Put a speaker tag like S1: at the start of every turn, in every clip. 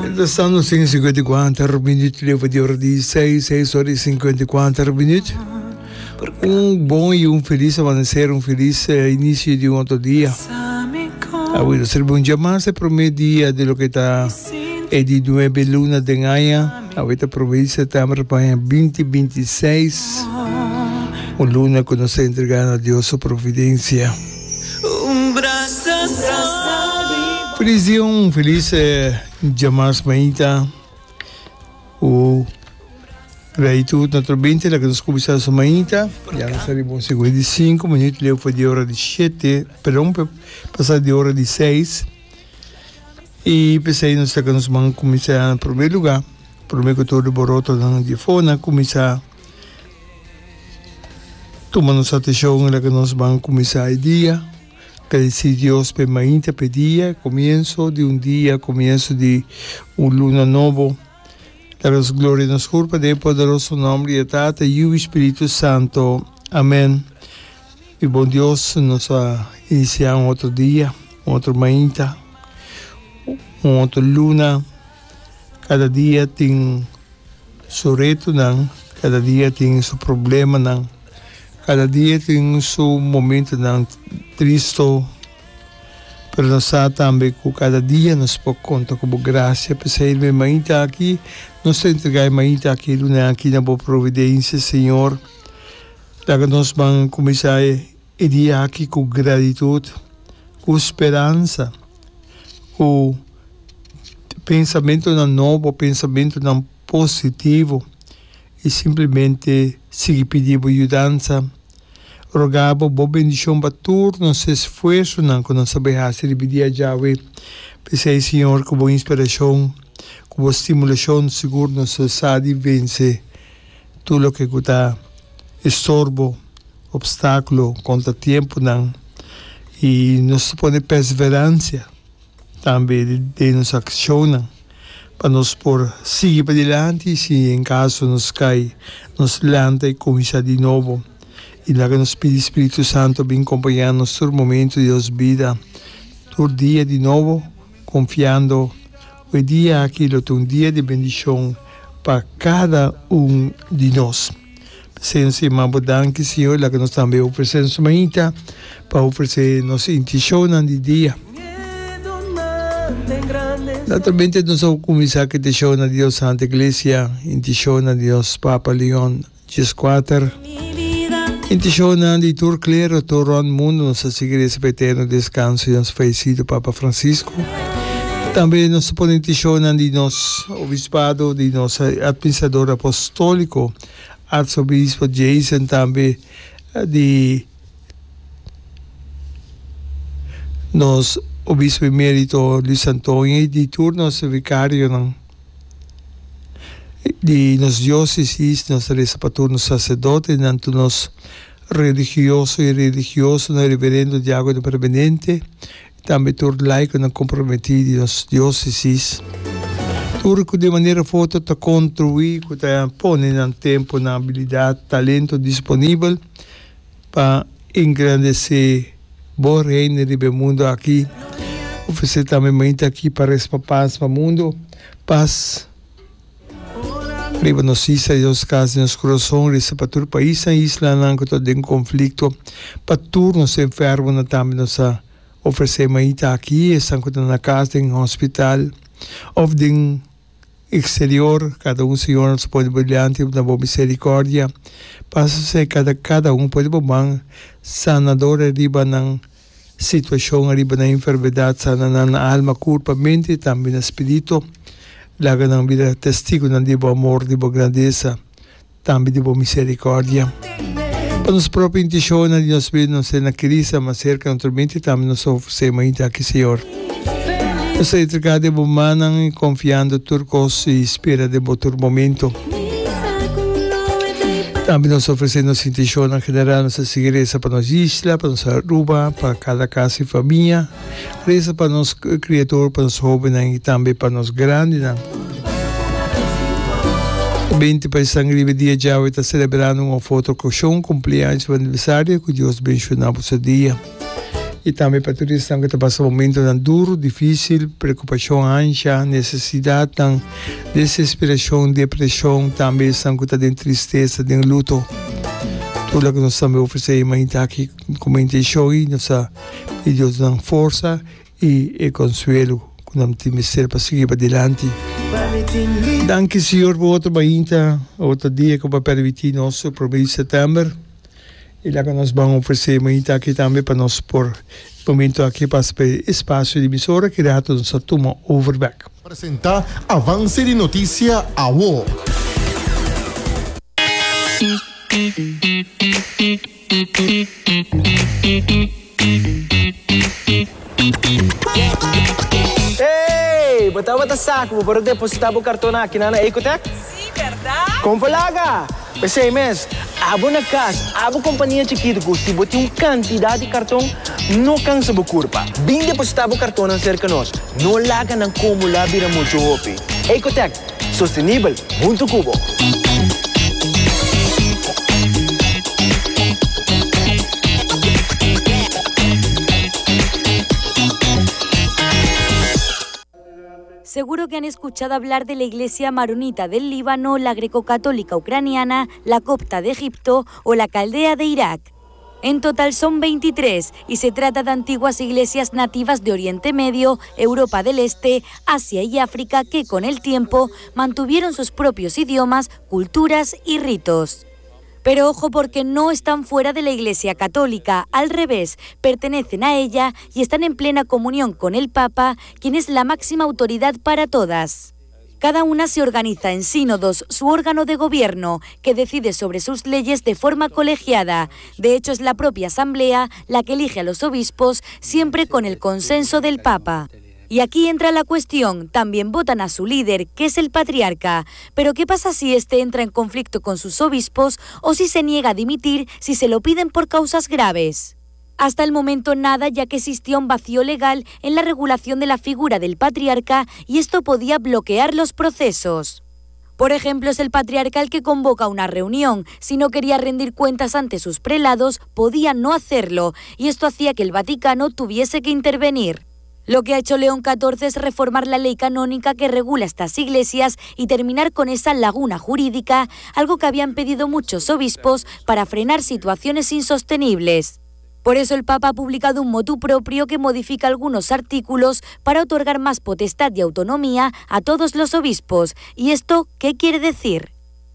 S1: Mientras tanto, 5:54 minuut leu di ora di 6, 6 ora y 54 minuut. Un bon y un feliz amanecer, un feliz eh, inicio di un otro dia. Awe nos reba un dia mas, e prome dia di loke ta e di nuebe luna den aña. Awe ta prome di september pa aña 2026. Un luna ku nos ta entrega na Dios su providencia. Feliz dia, un feliz eh, dia mas mainta. Ku gratitud naturalmente laga nos kuminsá su mainta. Ya nos ta riba un 55 minuut leu for di ora di shete, perdon, pasá di ora di seis. I p'esei nos laga nos man kuminsá na promé lugá, promé ku tur di borotonan di afó nan kuminsá tuma nos atenshon, laga nos ban kuminsá e dia. Gradisí Dios p'e mainta, p'e dia, komienso di un dia, komienso di un luna nobo. Laga nos gloria nos kurpa den e poderoso nòmber di e Tata, Yu i Spiritu Santo. Amen. Mi bon Dios, nos a inisiá un otro dia, un otro mainta, un otro luna. Kada dia tin su retonan, kada dia tin su problemanan, kada dia tin su momentonan tristo, pero nos sa tambe ku kada dia nos por konta ku bo grasia. P'esei e mainta aki nos ta entregá e mainta aki, e luna aki na bo providensia, Señor. Laga nos ban kuminsá e dia aki ku gratitut, ku speransa, ku pensamentonan nobo, pensamentonan positivo i simplemente sigui pidi bo yudansa. Roga bo bo bendishon pa tur nos esfuersonan ku nos ta bai hasi riba e dia djawe. P'esei, Señor, ku bo inspirashon, ku bo stimulashon, sigur nos ta sa di vense tur loke ku ta estorbo, opstákulo, kontratiemponan i nos ta pone perseveransia. Tambe den nos akshonnan pa nos por sigui padilanti i si en kaso nos kai, nos lanta i kuminsá di nobo. I laga nos pidi Spiritu Santu bin kompañá nos tur momentu di nos bida, tur dia di nobo, konfiando ku e dia aki lo ta un dia di bendishon pa kada un di nos. P'esei nos ta yama bo danki, Señor, laga nos tambe ofresé nos mainta pa ofresé nos intishonnan di dia. Naturalmente nos a kuminsá ku intishonnan di nos Santa Iglesia, intishonnan di nos Papa Leon Dieskuater, intishonnan di tur klero tur rònt mundu. Nos ta sigui resa pa eterno deskanso di nos fayesido Papa Francisco. Tambe nos ta pone intishonnan di nos obispado, di nos administrador apostóliko, Arzobispo Jason tambe di nos Obispo Emerito Luis Antonio y di tur nos vicarionan di nos diocesis, nos ta reza pa tur nos sacerdotenan, tur nos religioso y religiosonan, reverendo, diacono permanente. Tambe tur laikonan komprometí di nos diósesis. Tur ku di manera òf otro ta kontribuí ku ta pone nan tempu, nan abilidat, talento disponibel pa engrandesé Bo Reino riba e mundu aki. Ofresé tambe mainta aki pa resa pa pas pa mundu, pas riba nos isla i nos kas i nos kurason, resa pa tur paisnan i islanan ku ta den konflikto, pa tur nos enfermonan tambe nos ta Ofresé maita aki esnan ku ta na kas, den hospital òf den eksterior. Kada un, Señor, nos pone bo dilanti na bo miserikòrdia. Pasa serka di kada un, pone bo man sanador ariba nan situashon, ariba nan enfermedat, sana nan na alma, kurpa, mente i tambe na spiritu. Laga nan bira testigunan di bo amor, di bo grandesa. Tambe di bo misericordia. Pa nos propio intencionnan di nos bida nos ta na Cristo mas cerca naturalmente tambe nos ta ofrece mainta aki Señor. Nos ta entrega den bo mannan y confiando tur cos y spera den bo tur momento. Tambe nos ta ofrece nos intencionnan general nos ta sigui reza pa nos isla, pa nos Aruba, pa cada casa y famia. Reza pa nos criatura, pa nos hobennan y tambe pa nos grandinan. Binti paisnan riba e dia djawe ta celebrando un of otro ocasion, cumpleaños of aniversario, cu Dios benciona boso dia. I tambe pa tur esnan ku ta pasa momentonan duru, difísil, preokupashon, ansha, nesesidatnan, desesperashon, depreshon, tambe esnan ku ta den tristesa, den luto. Tur loke nos tambe ofresé e mainta aki komo intenshon i nos ta pidi Dios nan forsa i e konsuelo ku nan tin mester pa sigui padilanti. Danki Señor pa otro mainta, otro dia ku bo a permití nos promé di sètèmber. I laga nos ban ofresé mainta aki tambe pa nos por momento aki pasa pa e espasio di emisora ki rato nos ta tuma over bek.
S2: Presenta Avance di Noticia Awo.
S3: Hey! Bo tabata sa ku bo por a depositá bo kartonnan akinan na Ecotech?
S4: Sí, bèrdat?
S3: Kon por laga! P'esei mes, abo na kas, abo kompania chikitu ku si bo tin un kantidat di karton, no kansa bo kurpa. Bin depositá bo kartonnan serka nos. No laga nan kumulá bira muchu hopi. Ecotech, sostenibel huntu ku bo!
S5: Seguro que han escuchado hablar de la Iglesia Maronita del Líbano, la greco-católica ucraniana, la copta de Egipto o la caldea de Irak. En total son 23 y se trata de antiguas iglesias nativas de Oriente Medio, Europa del Este, Asia y África que con el tiempo mantuvieron sus propios idiomas, culturas y ritos. Pero ojo porque no están fuera de la Iglesia Católica, al revés, pertenecen a ella y están en plena comunión con el Papa, quien es la máxima autoridad para todas. Cada una se organiza en sínodos, su órgano de gobierno, que decide sobre sus leyes de forma colegiada. De hecho, es la propia asamblea la que elige a los obispos, siempre con el consenso del Papa. Y aquí entra la cuestión, también votan a su líder, que es el patriarca. Pero ¿qué pasa si éste entra en conflicto con sus obispos o si se niega a dimitir si se lo piden por causas graves? Hasta el momento nada, ya que existía un vacío legal en la regulación de la figura del patriarca y esto podía bloquear los procesos. Por ejemplo, es el patriarca el que convoca una reunión. Si no quería rendir cuentas ante sus prelados, podía no hacerlo, y esto hacía que el Vaticano tuviese que intervenir. Lo que ha hecho León XIV es reformar la ley canónica que regula estas iglesias y terminar con esa laguna jurídica, algo que habían pedido muchos obispos para frenar situaciones insostenibles. Por eso el Papa ha publicado un motu propio que modifica algunos artículos para otorgar más potestad y autonomía a todos los obispos. ¿Y esto qué quiere decir?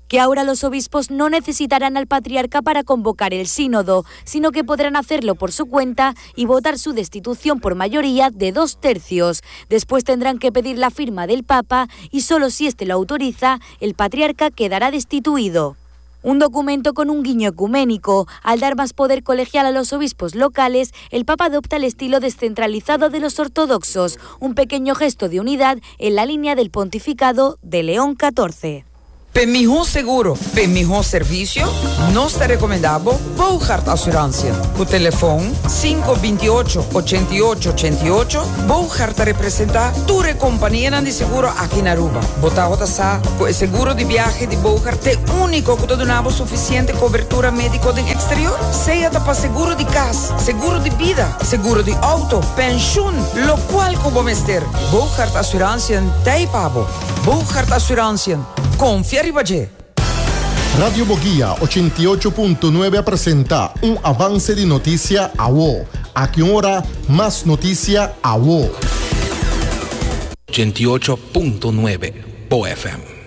S5: Que ahora los obispos no necesitarán al patriarca para convocar el sínodo, sino que podrán hacerlo por su cuenta y votar su destitución por mayoría de dos tercios. Después tendrán que pedir la firma del Papa y solo si éste lo autoriza, el patriarca quedará destituido. Un documento con un guiño ecuménico. Al dar más poder colegial a los obispos locales, el Papa adopta el estilo descentralizado de los ortodoxos, un pequeño gesto de unidad en la línea del pontificado de León XIV.
S6: P'e mihó seguro, p'e mihó servisio, nos ta rekomendá bo Bougaard Assurantie. Ku telefon sinku bintiocho, ochenta i ocho, ochenta i ocho, Bougaard ta representá tur e kompanianan di seguro aki na Aruba. Bo tabata sa ku e seguro di biahe di Bougaard t'e úniko ku ta duna bo sufisiente kobertura médiko den eksterior? Sea ta pa seguro di kas, seguro di bida, seguro di outo, penshun, lokual ku bo mester, Bougaard Assurantie t'ei pa bo. Bougaard Assurantie, konfia riba dje!
S2: Radio Boguia ochenta i ocho punto nuebe a presenta un avance di noticia awo. Aki un ora mas noticia awo.
S7: 88.9 Bo FM.